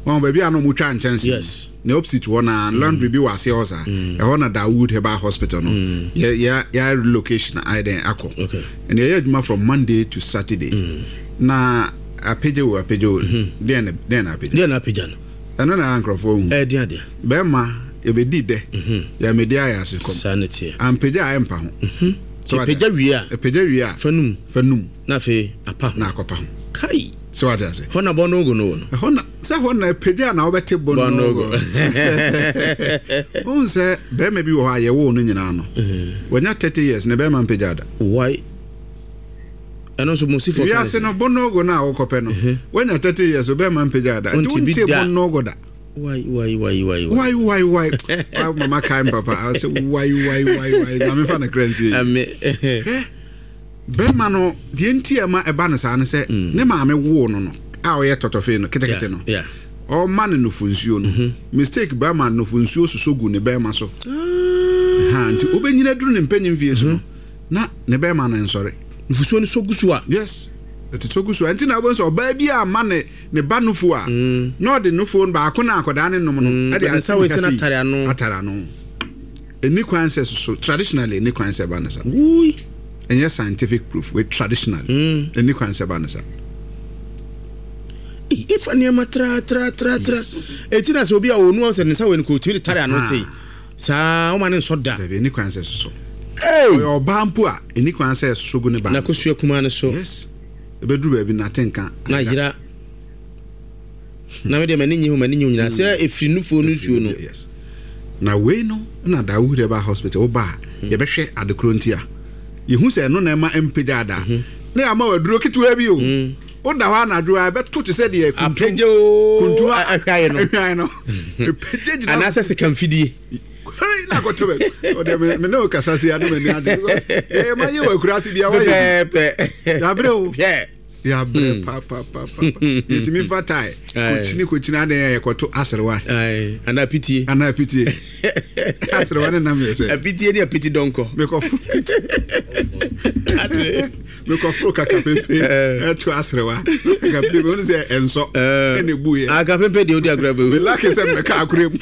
wɔn baabi a na ɔmo twa nkyɛnse. Yes. Ne opposite hɔ naa, laundry bi wɔ aseɛ hɔ saa, ɛhɔ na Dawood Herbal Hospital no yɛ yɛ yɛ relocation ayɛ dɛn akɔ. Okay. Ɛna yɛyɛ adwuma from Monday to Saturday. Na apagya o, apagya o, deɛ na deɛ na apagya? Deɛ na apagya no? Ɛno na nkurɔfoɔ hu. Ɛyɛ deɛ adeɛ. Bɛrima yɛbɛdi dɛ, yɛmɛdi ayɛ ase kɔm. Saa ne teɛ. Ampagya a ɛmpa ho. Nti pagya wie a, ɛpagya wie a, fa num. Fa num. Na afei apa ho. Na akɔpa ho. Kai. Sɛ wate ase? Hɔ na bɔ no ogo no wɔ no. Ɛhɔ na sɛ hɔ na ɛpagya na wobɛte bɔ Bɔ no. no ogo. Wohu sɛ bɛrima bi wɔ hɔ a yɛwoo no nyinaa no, wanya thirty years ne bɛrima mpagya da. Why? Ɛno nso mo sifo. Wiase no bɔnɔɔgo no a wokɔpɛ no, wanya thirty years, bɛrima mpagya da, nti Wonte bi wonte da. bɔnɔɔgo da. Why, why, why, why? Why, why, why? Why, mama kae m papa I sɛ why, why, why, why? Na mefa no kra nsie. Ame. Hwɛ, bɛrima no deɛ nti a ɛma ɛba no saa no sɛ ne maame woo no no a ɔyɛ tɔtɔfee no ketekete no, Yeah. ɔma no nufu nsuo no, mistake bɛrima nufu nsuo soso gu ne bɛrima so ha, nti wobɛnyina duru ne mpanyin fie so no na ne bɛrima no nsɔre. Nufusuo no so gu so a. Yes, ɛte so gu so a, nti na wobɛhu sɛ ɔbaa bi a ma ne ne ba nufu a, na ɔde nufuo no baako na akwadaa ne nom no ɛde Ɔde nsa wei sɛ no atare ano. Atare ano. Ɛni kwan sɛ soso. Traditionally, ɛni kwan sɛ ɛba no sa. Wui. Ɛnyɛ scientific proof wei, traditionally ɛni kwan sɛ ɛba no sa. Ifa nneɛma tra tra tra tra. Eti na sɛ obi a onu sɛ ne nsa wei no kò tumi de tare ano sei. Saa wɔn ma ne nsɔ da. Dabi, ɛni kwan sɛ soso. Hey! Ɔyɛ ɔbaa mpo a, ɛni kwan sɛ soso gu ne ba Na no. kosua kumaa no so. Yes, ɛbɛduru baabi nate nka. Na yera. Na me deɛ m'ani nye ho, m'ani nye ho nyinaa sɛ efiri nufuo no nsuo no. Yes, na wei no na Dawood Herbal Hospital woba a, yɛbɛhwɛ adekoro nti a yɛhu sɛ ɛno na ɛma mpagya ada na yɛama wɔ aduro ketewa bi o. Woda hɔ anadwo a, ɛbɛto te sɛ deɛ kuntu Apagya o. Kuntu a ahwae no. Ahwae no ɛpagya gyina. Anaasɛ sika mfidie. Hei, na akɔtɔ bɛ ɔdeɛ me me ne wo kasa se ano m'ani agye because yɛyɛ ma yɛ wɔ akuraase bia wayɛ Pɛpɛɛpɛ. Yɛabrɛ o. Hwɛ. Yɛabrɛ papapapa. Yɛtumi fa tae kɔkyini kɔkyini adan a yɛkɔto aserewa. Ayi, anaa pitie. Anaa pitie, aserewa ne nam yɛ sɛ Apitie ne apiti dɔnkɔ. Mekɔfo Ase. Mekɔforo kaka pepe ɛto aserewa kaka pepe wone sɛ ɛnsɔ ɛna ɛbuyɛ. Aka pempe deɛ odi agorɔ bɛwu. Melake sɛ mmɛka akorɛ mu.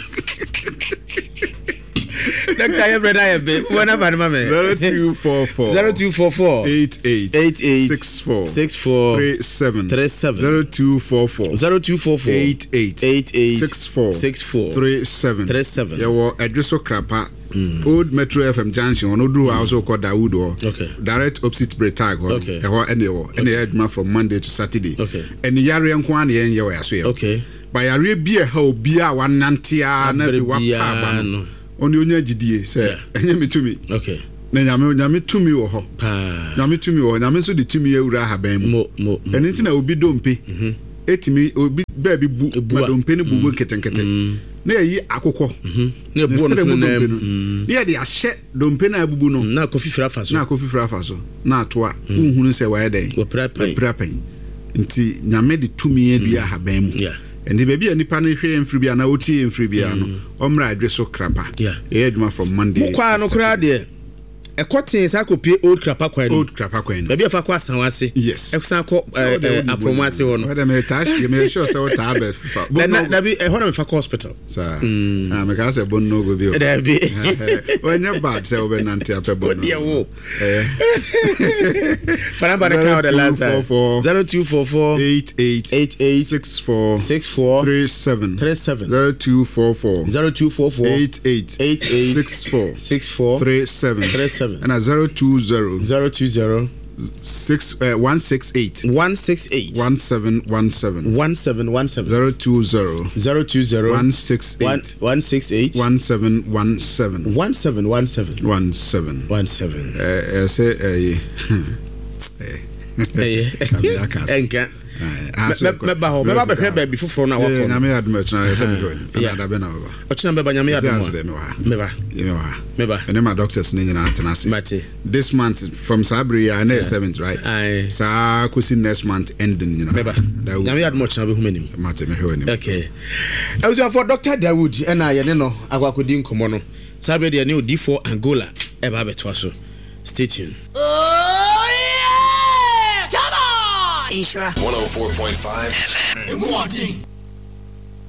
Dɔkta, yɛ brɛ na yɛ be. Wọ́n náà bá ní ma mẹ́. zero two four four zero two four four eight eight eight eight six four six four three seven three seven. zero two four four zero two four four eight eight eight eight six four six four three seven. three seven. Yɛwɔ Ɛdwe so Krapa, Old Metro F M junction hɔ no. Woduru hɔ a, wo sɛ wokɔ Dawood hɔ. Okay. Direct opposite Bretag hɔ no. Okay. Ɛhɔ ɛne ɛwɔ ɛne ɛyɛ adwuma from Monday to Saturday. Okay. Ɛne yareɛ nko ara na yɛnyɛ wɔ yɛaso yɛ. Okay. Bayareɛ bi a ɛha obiara a wanante a na afei wapa aba no, ɔne onya gyidie sɛ ɛnyɛ me tumi. Okay. Na nyame nyame tumi wɔ hɔ. Nyame tumi wɔ hɔ. Nyame nso de tumi awura ahaban mu. Ɛno nti na obi dompe ɛtumi obi baabi bu ma dompe no bubu nketenkete. Na yɛyi akokɔ na ɛbuo no so mu dompe no. Na yɛde ahyɛ dompe no a abubu no. Na akɔ fifiri afa so. Na akɔ fifiri afa so. Na atoa. Wohunu sɛ wayɛ dɛn? Wapira pɛn. Nti nyame de tumi adua ahaban mu. Nti baabi a nipa no hwɛ mfiri bi anaa otie mfiri bi ano, ɔmmra adwe so Krapa. Yɛyɛ adwuma from Monday. Mo kwaa no koraa deɛ ɛkɔ tee saa kɔpie Old Krapa kwan no. Old Krapa kwan no. Baabi a fa kɔ Asanwa ase. Yes. Ɛsan kɔ Apromo ase hɔ no. Wɔde me taa hyɛ me sure sɛ wotaa bɛ fa. Dabi ɛhɔ na mefa kɔ hospital. Saa. Ah, meka sɛ Bonnogo bi o. Dabi. Wɔnyɛ bad sɛ wobɛnante apɛ Bonnogo. Wodeɛ wo. Fanamba no ka the last time. zero two four four eight eight eight eight six four six four three seven three seven zero two four four zero two four four eight eight eight eight six four six four three seven three seven and a zero two zero zero two zero six uh, one six eight one six eight one seven one seven one seven one seven zero two zero zero two zero one six eight one six eight one seven one seven one seven one seven one seven one seven. Uh, say uh, eh enka mɛba hɔ mɛba bɛhwɛ baabi foforɔ no a wakɔ no. Nyame adom ɔkyena sɛ mekɔ ana da bɛ na bɛba ɔkyena bɛba nyame adom a mɛba mɛba ɛne ma doctors ne nyinaa atena ase. Mate. This month from saa bere yi a na yɛ seventh, right? Saa kɔsi next month ending nyinaa mɛba. Nyame adom ɔkyena bɛhu m'anim. Mate, mehwɛ w'anim. Okay. Abusuafoɔ, Doctor Dawood ɛna yɛne no akɔ akɔdi nkɔmmɔ no. Saa bere deɛ ne odiifoɔ Angola ɛba abɛtoa so. Stay tuned. Oh yeah! Come on! Nhyira one oh four point five F M.